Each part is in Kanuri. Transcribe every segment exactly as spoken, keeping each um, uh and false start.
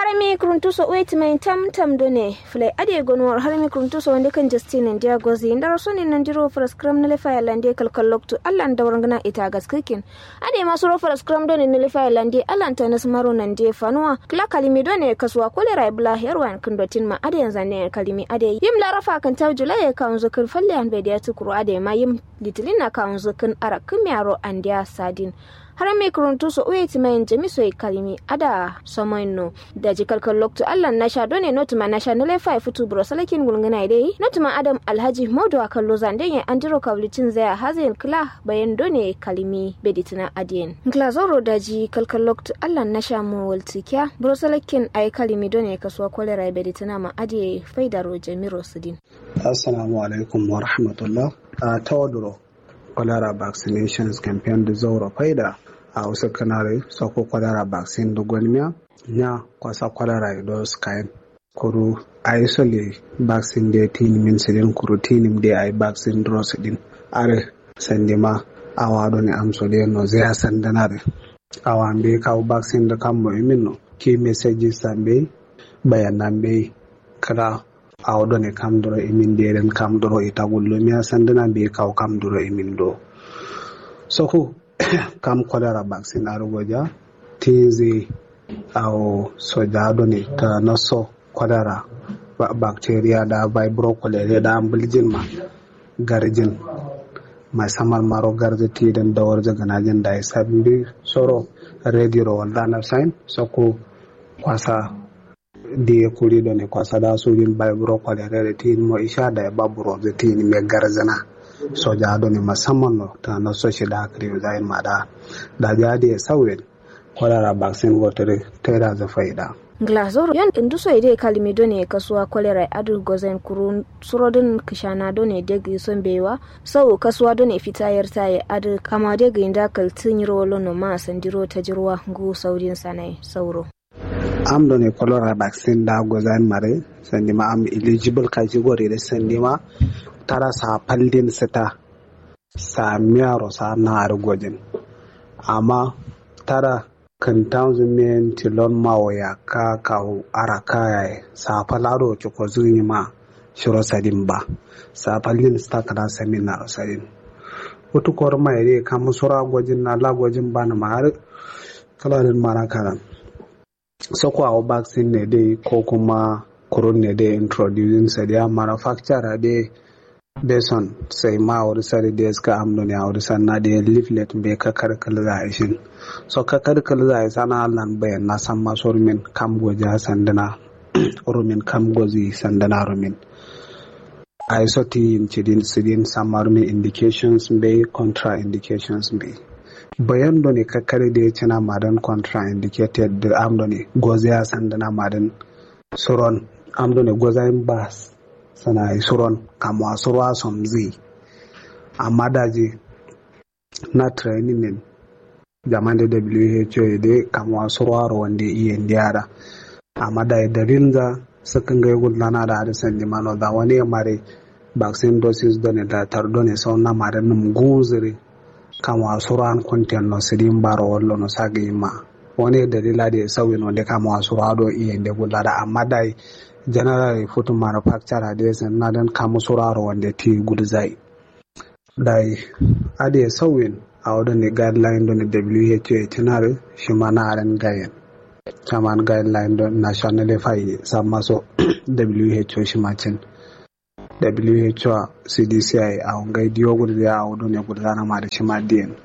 Harami kuruntu so uwe timayin tam tam done. Fulai adai gonuwar harami kuruntu so wande kan jastinin diya gozi ndaro sonin nandiro faraskram na lefa yalande kalkal loktu allan dawar ngana ita gaskikin. Adai ma suro faraskram done na lefa yalande allan ta nasmaro nande fanuwa kla kalimi done kasuwa kolera bla herwan kundotin ma adai yanzane kalimi adai yim larafa kan tawjula ya kawun zukun falle an bai diya tukuru adai ma yim litilin na kawun zukun ara kumiyaro andiya sadin. Harami kuruntu so uwe timayin jami so kalimi ada somoyin no. Daji kalkal loktu allan nasha done notuma nasha nale fai futu buro salakin gulngana dai notuma adam alhaji modo a kallo zande ye andiro kawlicin zaya hazayin kla bayan done kalimi beditina adiyen. Ngla zoro daji kalkal loktu allan nasha mo waltikiya buro salakin ayi kalimi done kasuwa kolera beditina ma adiye faidaro jamiro sidin. Assalamu alaikum wa rahmatullah. A tawaduro cholera vaccinations campaign du zauro faida. A usu kanari soko cholera vaccine du gonmiya nya kwasa cholera ido skain. Kuru ayi sole vaccine de tinimin sidin kuru tinim de ayi vaccine duro sidin. Are sandima awa done amso de no zaya sandana de. Awa mbe kawu vaccine de kammo imin no ki message sambe bayanan mbe kala. Awo done kam duro imin deren kam duro ita gullumiya sanduna be kawo kam duro imin do. Soku kam cholera vaccine aru goja tinzi awo soja done ta naso cholera bacteria da vibro cholera da ambuljin ma garjin. Mai samar maro garzi ti den dawar jagana jin da isa bi soro rediro walla na sain soku kwasa diye kuri done kwasa da sujin bai buro kwale rere tin mo isha da ba buro de tin me garzana. Soja done musamman no ta na so shi da kri zain ma da da ja diye sawin. Cholera vaccine go tere tera za faida. Ngla zoro yon indu so ide kalimi done kasuwa cholera adu gozen kurun surodin kishana done degi son bewa sau kasuwa done fita yarta ya adu kama degi inda kaltin yiro lono ma sandiro tajirwa ngu saudin sanai sauro. Am done cholera vaccine da gozain mare sandima am eligible category de sandima tara sa paldin sita sa miyaro sa na ari gojin. Amma tara kintanzu men tilon mawo ya ka kawu ara kayaye sa palado ciko zuni ma shiro sadin ba. Sa paldin sita kana samin naro sadin. Utu korma ide kamu sura gojin na la gojin ba na ma ari kala din mana karan. Soko awo vaccine ne dai ko kuma kurun ne dai introducing sa dai manufacturer dai beson sai ma awuri sari dai suka amdo ne awuri sanna dai leaflet be kakar kalza ishin. So kakar kalza isana allan bayan na san maso rumin kam goja sandana rumin kam gozi sandana rumin. Ai so ti yin cidin sidin samar mi indications mbe contra indications mbe. Bayan done kakkari de cina madan contra indicated de am done goze a sandana madan suron am done goza in bas sana ai suron kamwa surwa somzi. Amma daji na training nin jaman de W H O de kamwa surwa ro wande iye ndiyara. Amma da dalil za sakin ga yugul lana da hadi sandi mano da wani mare vaccine doses done da tar done sau na mare num gunziri kamwa suran kunten no sidin baro wallo no sagi ma. Wani dalila de sauyin wande kamwa sura do iye nde gulla da amma da general food manufacturer de sen na dan kamu sura ro wande ti gulzai. Dai ade sauyin awo done guideline done W H O e tinare shima na aren gayen. Chaman guideline done national fai samma so W H O shima cin. W H O a C D C I awo ngai diyo gulzai awo done gulzana ma da shima diyen.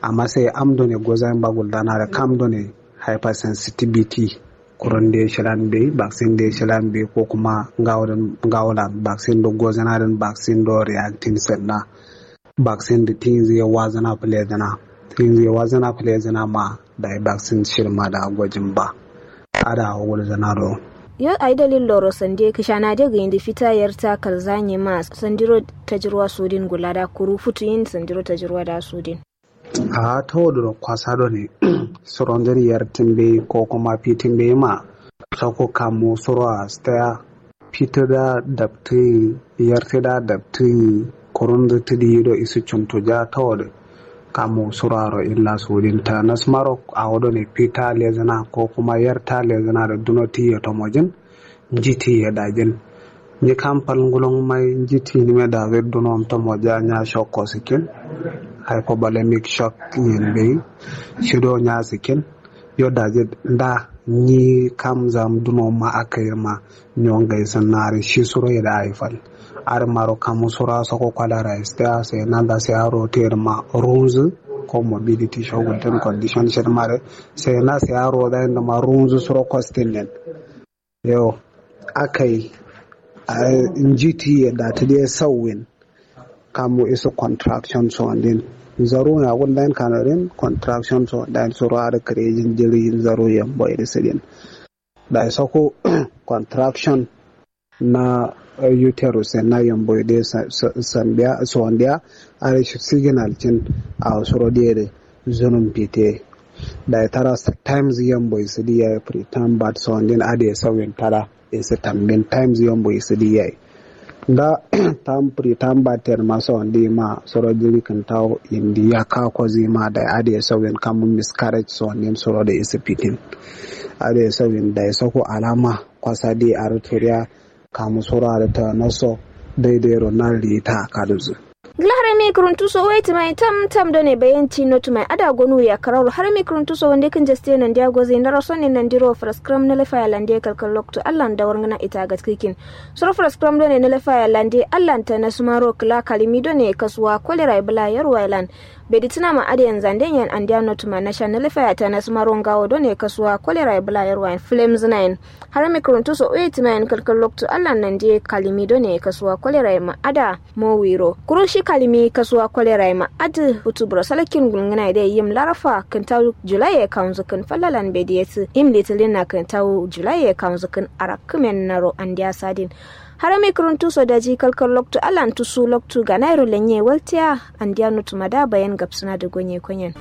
Amma sai am done gozain ba gulzana da kam done hypersensitivity. Kuron de shilan be vaccine de shilan be ko kuma ngawo din ngawo lan vaccine do gozana din vaccine do reacting senna. Vaccine di tinzi ya wazana plezana tinzi ya wazana plezana ma da vaccine shirma da gojin ba. Ada wuri zana do. Yo ai dalil loro sande kishana de ga indi fita yarta kalzanye ma sandiro tajirwa sudin gulada kuru futu yin sandiro tajirwa da sudin. A ta woduro kwasa done suronzir yartin bai ko kuma fitin bai ma sako kamo suro a staya. Fitu da dabtin yarti da dabtin kurunzu tudi do isu cuntu ja ta wodu. Kamu suraro illa sudin ta nasmaro awo done fita lezina ko kuma yarta lezina da duno tiye tomojin. Nji tiye dajin. Nyi kam fal ngulon mai nji tinime da zai duno tomoja nya shokko sikin. Hypovolemic shock yin bai. Shido nya sikin. Yo daji da nyi kam zam duno ma aka yi ma. Nyongai sanari shi suro ya da aifal. Ar maro kamu sura soko kwala rais ta sai nan da sai aro te ma runzu. Ko mobility shogun ten condition shi mare sai na sai aro da inda ma runzu suro kostin nen. Yo. Akai. Njiti ya da ta dai sauwin. Kamu isu contraction so din. Zaru ya wun lain kanarin contraction so din suro ar creating jiri zaru yambo iri sidin. Da isoko contraction na uterus na yambo ide sandiya sondiya. Ari signal cin a suro diye de zunun fite. Da tara times yambo isidi yayi preterm birth sondin ade sauyin tara isi tambin times yambo isidi yayi. Da tam preterm birth ten ma sondi ma suro jiri kintawo indi ya kako zima da ade sauyin kamun miscarriage sondin suro da isi fitin. Ade sauyin da isoko alama kwasa di aruturiya kamu sura da ta naso daidai ro na rita kaduzu. Ngla harami kuruntu so wai timai tam tam done bayanci no tumai ada gonu ya kararo harami kuruntu so wande kin jaste nan dia gozi na raso ne nan diro fraskram na lafaya lande kalkal loktu allan da warngana ita gatkikin. Suro fraskram done na lafaya lande allan ta na sumaro kla kalimi done kasuwa kolera bla yarwa lan. Beditina ma ade yan zande yan andia no tuma na sha na lafaya ta na sumaro ngawo done kasuwa kolera bla yarwa yan flames nine. Harami kuruntu so uye timayen kalkal loktu allan nan diye kalimi done kasuwa kolera ma ada mowiro kuru shi kalimi kasuwa kolera ma adi hutu buro salakin gulngana de yim larafa kintawu julaye kanzu kin fallalan bediyesi yim litilin na kintawu julaye kanzu kin arakkimen naro andiya sadin. Harami kuruntu so daji kalkal loktu allan tusu loktu ganairo lenye waltiya andiya nutuma da bayan gabsina da gonye konyen.